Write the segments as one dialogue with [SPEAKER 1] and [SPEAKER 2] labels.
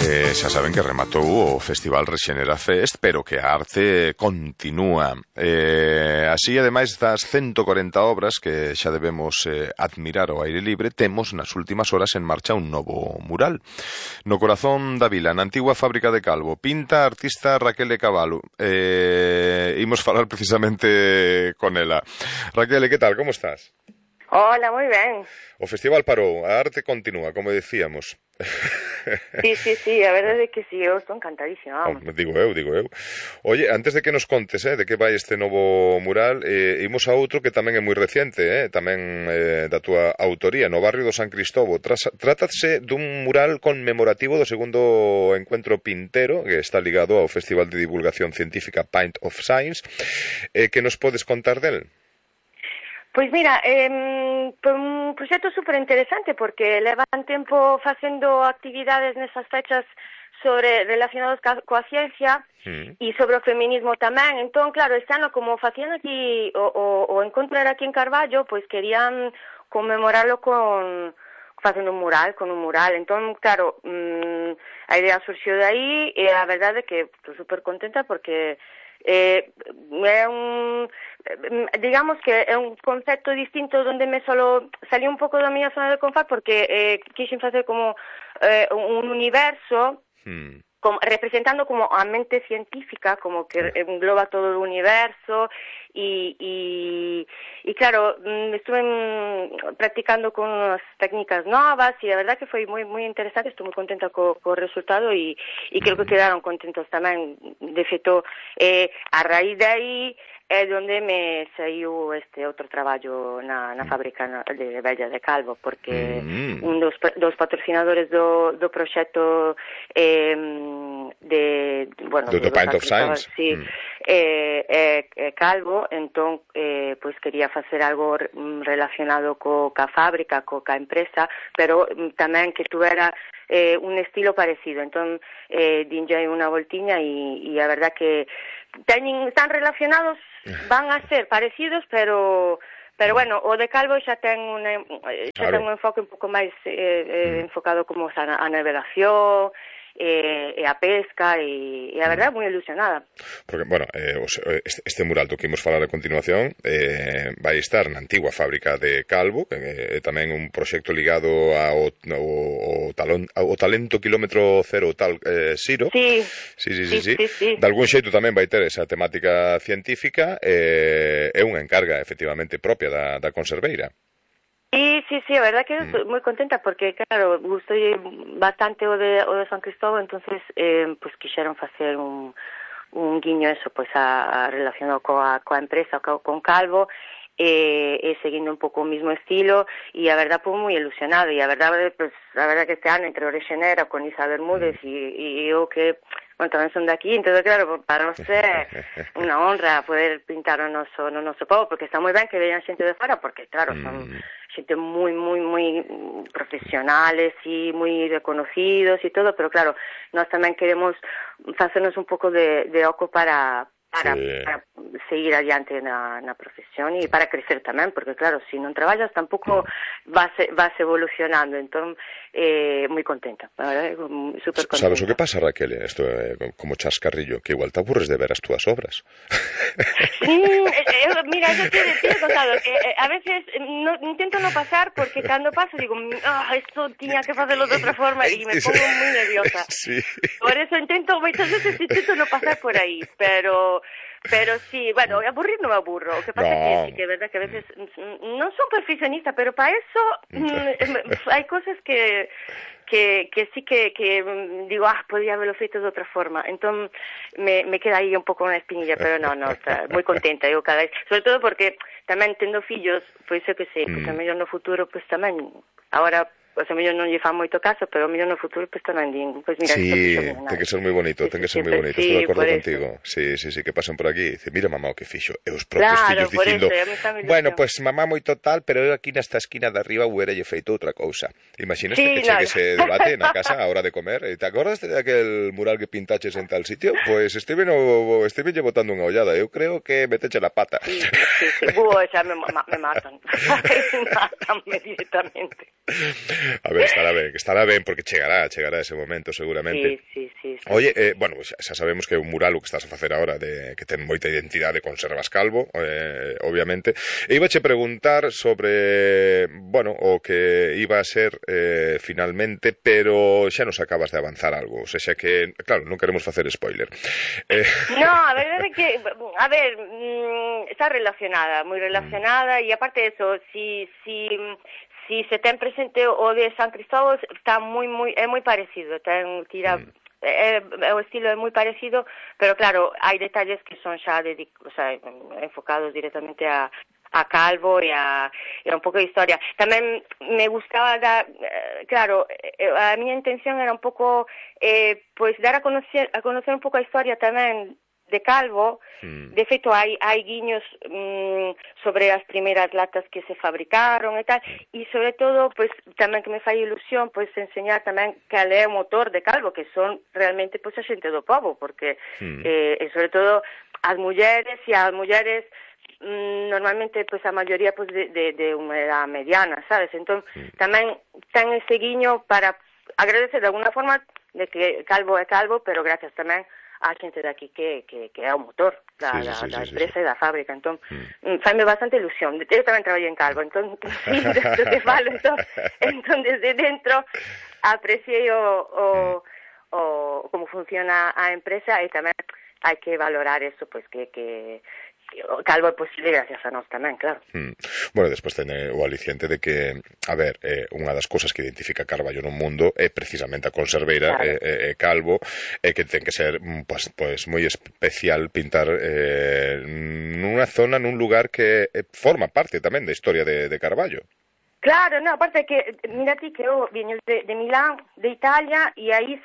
[SPEAKER 1] Xa saben que rematou o Festival Rexenera Fest, pero que a arte continúa. Así, ademais das 140 obras que xa debemos admirar ao aire libre, temos nas últimas horas en marcha un novo mural. No corazón da vila, na antigua fábrica de Calvo, pinta a artista Raquel de Caballo. Imos falar precisamente con ela. Raquel, que tal? Como estás?
[SPEAKER 2] Hola, moi ben.
[SPEAKER 1] O festival parou, a arte continúa, como decíamos.
[SPEAKER 2] Sí, a verdade é que sí, eu estou encantadísima.
[SPEAKER 1] Digo eu. Oye, antes de que nos contes de que vai este novo mural, imos a outro que tamén é moi reciente, tamén da túa autoría, no barrio do San Cristóbal. Trátase dun mural conmemorativo do segundo encuentro pintero, que está ligado ao Festival de Divulgación Científica Pint of Science. Que nos podes contar del?
[SPEAKER 2] Pois mira, foi un proxecto super interesante porque levan tempo facendo actividades nesas fechas relacionadas coa ciencia e sobre o feminismo tamén. Entón, claro, este ano, como facían aquí o encontro era aquí en Carballo, pois querían conmemorarlo facendo un mural, con un mural. Entón, claro, a idea surxiu de aí e a verdade é que estou super contenta porque digamos que é un concepto distinto donde me solo salí un pouco da miña zona de confort porque quixen facer como un universo representando como a mente científica, como que engloba todo o universo e claro, estuve practicando con unas técnicas novas e a verdad que foi moi interesante, estou moi contenta co resultado e creo que quedaron contentos tamén. De feito, a raíz de aí é onde me saiu este outro traballo na fábrica de Bella de Calvo, porque un dos patrocinadores do proxecto
[SPEAKER 1] do Pint of Science
[SPEAKER 2] é Calvo, entón pois quería facer algo relacionado ca fábrica, ca empresa, pero tamén que tuvera un estilo parecido. Entón dinlle unha voltiña e a verdad que están relacionados, van a ser parecidos, pero bueno, o de Calvo xa ten un enfoque un pouco máis enfocado como a navelación e a pesca e a verdade moi ilusionada.
[SPEAKER 1] Porque, bueno, este mural do que imos falar a continuación vai estar na antigua fábrica de Calvo, que é tamén un proxecto ligado ao talento kilómetro cero tal Siro. Sí. De algún xeito tamén vai ter esa temática científica, é unha encarga efectivamente propia da conserveira.
[SPEAKER 2] Sí, a verdad que estou moi contenta porque, claro, gustoulle bastante o de San Cristóbal, entonces pues quixeron facer un guiño eso, pues relacionado coa empresa, con Calvo, seguindo un pouco o mismo estilo, e a verdad pues moi ilusionado, e a verdade que este ano entre o Rexenera con Isa Bermúdez e eu que bueno, tamén son de aquí, entón, claro, para nós é unha honra poder pintar no noso povo, porque está moi ben que vean xente de fora, porque, claro, son xente moi profesionales e moi reconocidos e todo, pero, claro, nós tamén queremos facernos un pouco de oco para seguir adiante na profesión e para crecer tamén, porque claro, se non traballas tampouco vas evolucionando. Entón, moi contenta, super contenta.
[SPEAKER 1] Sabes o que pasa, Raquel? Isto é como chascarrillo, que igual te aburres de ver as túas obras.
[SPEAKER 2] Mira, yo te he contado que a veces intento no pasar porque cando paso digo, esto tiña que facerlo de outra forma e me pongo moi nerviosa. Sí. Por eso moitas veces intento no pasar por aí, pero sí, bueno, aburrir non me aburro. O que pasa é que é verdad que a veces non son perfeccionista, pero para eso hai cosas que sí que digo, podría haberlo feito de outra forma. Entón me queda aí un pouco unha espinilla, pero non, está moi contenta eu cada vez, sobre todo porque tamén tendo fillos, pois eu que sei, pois a mellor no futuro pois tamén agora a mellor non lle fan moito caso, pero a mellor no futuro pues tamén din, pues mira,
[SPEAKER 1] sí, ten que ser moi bonito, estou de acordo contigo. Sí, que pasan por aquí e dice, mira mamá o que fixo, e os propios fillos dicindo, bueno, pues mamá moito tal, pero eu aquí nesta esquina de arriba hubiera lle feito outra cousa. Imaginas que chegue ese debate na casa a hora de comer, e te acordas de aquel mural que pintaches en tal sitio? Pues Steven lle botando unha ollada, eu creo que meteche la pata.
[SPEAKER 2] Sí, xa me matan. Me matan directamente.
[SPEAKER 1] A ver, estará ben, porque chegará ese momento, seguramente.
[SPEAKER 2] Sí.
[SPEAKER 1] Oye, bueno, pues xa sabemos que é un mural o que estás a facer agora que ten moita identidade, conservas calvo, obviamente. E ibache preguntar sobre, bueno, o que iba a ser finalmente, pero xa nos acabas de avanzar algo, o sea que, claro, non queremos facer spoiler.
[SPEAKER 2] No, a verdade é que, a ver, está relacionada, moi relacionada, e aparte de eso, si se ten presente o de San Cristóbal, está é moi parecido, tira o estilo é moi parecido, pero claro, hai detalles que son xa enfocados directamente a Calvo e a un pouco de historia. Tamén me gustaba claro, a miña intención era un pouco pois dar a conocer un pouco a historia tamén de Calvo. De feito, hai guiños sobre as primeiras latas que se fabricaron e tal, e sobre todo, pois, tamén que me fai ilusión, pois, enseñar tamén cal é o motor de Calvo, que son realmente, pois, a xente do pobo, porque, e sobre todo, as mulleres normalmente, pois, a maioría, pois, de unha edad mediana, sabes? Entón, tamén ten ese guiño para agradecer de alguna forma de que Calvo é Calvo, pero gracias tamén a xente de aquí que é o motor da empresa e da fábrica. Entón, faime bastante ilusión. Eu tamén traballei en Calvo, entón, do que falo, entón desde dentro apreciei como funciona a empresa, e tamén hai que valorar eso, pois que o Calvo é posible gracias a nós tamén, claro.
[SPEAKER 1] Bueno, despois ten o aliciente de que, a ver, unha das cousas que identifica Carballo no mundo é precisamente a conserveira, claro. Calvo, que ten que ser pues moi especial pintar nunha zona, nun lugar que forma parte tamén da historia de Carballo.
[SPEAKER 2] Claro, no, aparte que, mira ti que eu viño de Milán, de Italia, e aí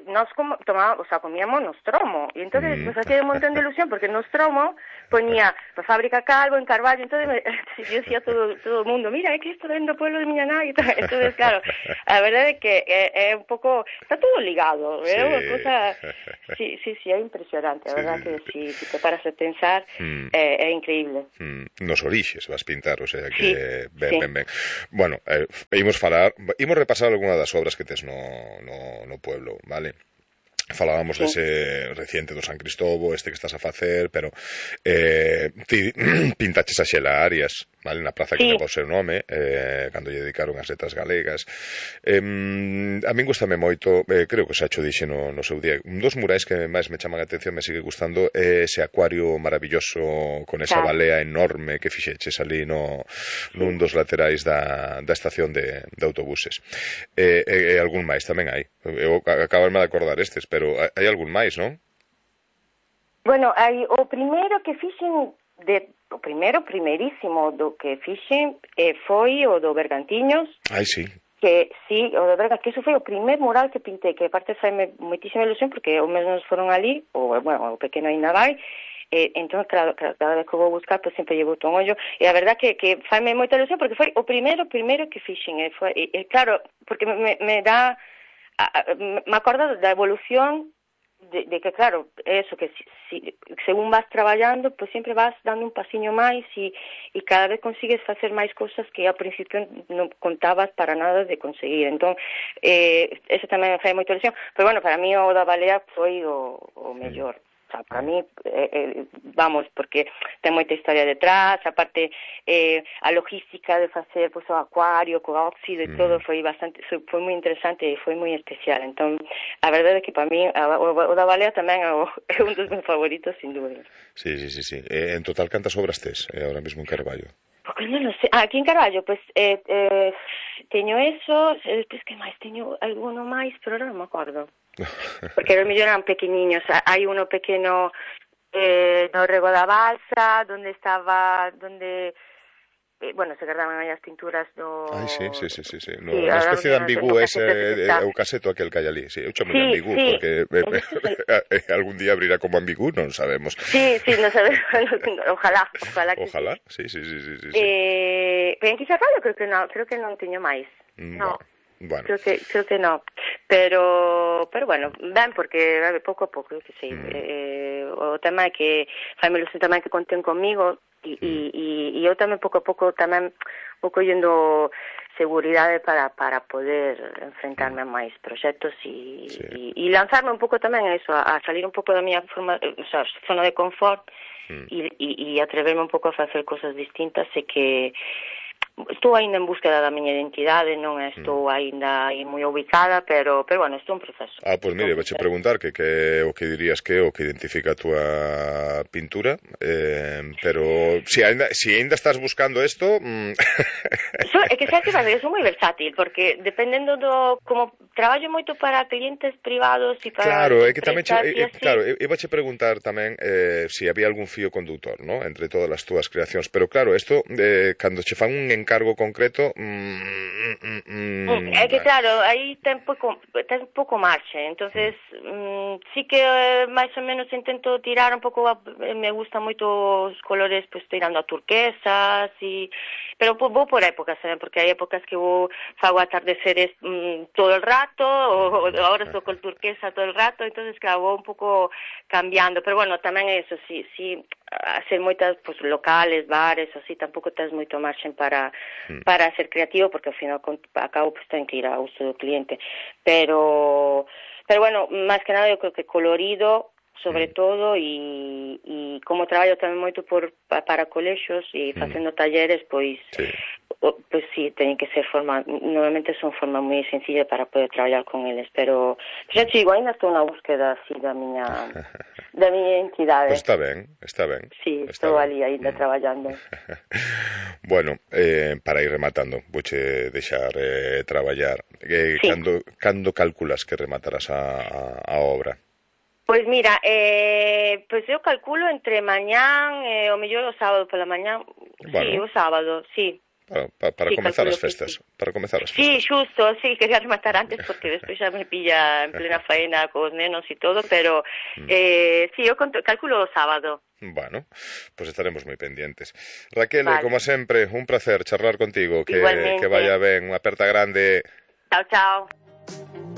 [SPEAKER 2] nos comíamos nostromo, e entonces nos hacía un montón de ilusión, porque nostromo ponía a fábrica Calvo en Carballo, entonces yo decía todo o mundo, mira, é que isto ven do pueblo de miña nai, entonces claro, a verdade é que é un pouco, está todo ligado, é unha cosa, sí, é impresionante, a verdade que si te paras a pensar, é increíble.
[SPEAKER 1] Nos orixes vas pintar, o sea que ben. Bueno, imos repasar algunha das obras que tes no pueblo, vale? Falábamos dese reciente do San Cristóbal, este que estás a facer, pero ti pintaches a Xela Arias, vale, na praza que leva o seu nome, cando lle dedicaron as letras galegas. A min gustame moito, creo que xa cho dixe no seu día, un dos murais que máis me chaman a atención, me sigue gustando, é ese acuario maravilloso con esa balea enorme que fixeches ali nun dos laterais da estación de autobuses. E algún máis tamén hai. Eu acabarme de acordar estes, pero hai algún máis, non?
[SPEAKER 2] Bueno, hai o primeiro que fixen, o primeirísimo do que fixen foi o do Bergantiños.
[SPEAKER 1] Ai, sí.
[SPEAKER 2] Que sí, o do Bergantiños, que iso foi o primer mural que pintei, que aparte faime moitísima ilusión, porque os mesmos foron ali, o pequeno ainda vai, entón, claro, cada vez que vou buscar, pues sempre llevo un ollo, e a verdad que faime moita ilusión, porque foi o primeiro que fixen, claro, porque me dá, me acordo da evolución de que, claro, eso, que según vas traballando, pues sempre vas dando un pasiño máis e cada vez consigues facer máis cousas que ao principio non contabas para nada de conseguir. Entón, eso tamén me fai moita ilusión, pero bueno, para mí o da balea foi o mellor. Para mí, vamos, porque ten moita historia detrás, aparte a logística de facer o acuario, co óxido e todo foi moi interesante e foi moi especial. Entón, a verdade é que para mí o da balea tamén é un dos meus favoritos, sin dúbida.
[SPEAKER 1] Sí. En total, cantas obras tes ahora mesmo en Carballo?
[SPEAKER 2] Porque non sei. Aquí en Carballo, pues, teño eso, despois que máis, teño alguno máis, pero non me acordo. Porque os millón eran pequeniños. Hai uno pequeno no Rego da Balsa, donde bueno, se guardaban aí as pinturas do...
[SPEAKER 1] Ai, sí. Unha especie de ambigú o caseto aquel que hai ali. Sí, eu chamo de ambigú, porque algún día abrirá como ambigú, non sabemos.
[SPEAKER 2] Sí, non sabemos. Ojalá que
[SPEAKER 1] Ojalá, sí.
[SPEAKER 2] Pero en Quixarrallo creo que non teño máis. No.
[SPEAKER 1] Bueno.
[SPEAKER 2] Creo que no, pero bueno, ben, porque pouco a pouco, que sei, o tema é que faime ilusión tamén que conten comigo e eu tamén pouco a pouco tamén vou collendo seguridade para poder enfrentarme a máis proxectos e lanzarme un pouco tamén a eso, a salir un pouco da miña zona de confort e atreverme un pouco a facer cosas distintas e que estou ainda en búsqueda da miña identidade, non estou ainda aí moi ubicada, pero bueno, estou en proceso.
[SPEAKER 1] Pois mire, vouche preguntar que o que dirías que o que identifica a túa pintura, pero si ainda estás buscando isto...
[SPEAKER 2] É que xa te pasa que sou moi versátil, porque dependendo do... Como traballo moito para clientes privados e para...
[SPEAKER 1] Claro, é que tamén... Claro, eu vouche preguntar tamén se había algún fío conductor, ¿no?, entre todas as túas creacións, pero claro, isto, cando che fan un encargo concreto...
[SPEAKER 2] É que claro, aí ten pouco marxe, entonces sí que máis ou menos intento tirar un pouco, me gustan moito os colores, pues tirando a turquesas, pero vou por épocas, porque hai épocas que fago atardeceres todo el rato, ou agora estou con turquesa todo el rato, entonces claro, vou un pouco cambiando, pero bueno, tamén é eso, sí, hacer moitas pues, locales, bares, así, tampouco tens moito marxen para ser creativo, porque ao final acabo pues ten que ir ao uso do cliente, pero bueno, máis que nada eu creo que colorido sobre todo e como traballo tamén moito para colexios e facendo talleres, pois sí, teñen que ser normalmente son formas moi sencillas para poder traballar con eles, pero xa te digo, ainda estou na búsqueda así da miña identidade.
[SPEAKER 1] Pois está ben.
[SPEAKER 2] Sí, estou ali ainda traballando.
[SPEAKER 1] Bueno, para ir rematando, vouche deixar traballar. Cando calculas que rematarás a obra?
[SPEAKER 2] Pois mira, pois eu calculo entre mañán e o mellor o sábado pola mañán. Bueno, sí, o sábado, sí.
[SPEAKER 1] Para comezar as festas.
[SPEAKER 2] Sí, xusto, sí, quería rematar antes porque despois xa me pilla en plena faena cos nenos e todo, pero sí, eu calculo o sábado.
[SPEAKER 1] Bueno, pues estaremos moi pendientes. Raquel, como sempre, un placer charlar contigo, que vaya ben, unha aperta grande.
[SPEAKER 2] Chao, chao.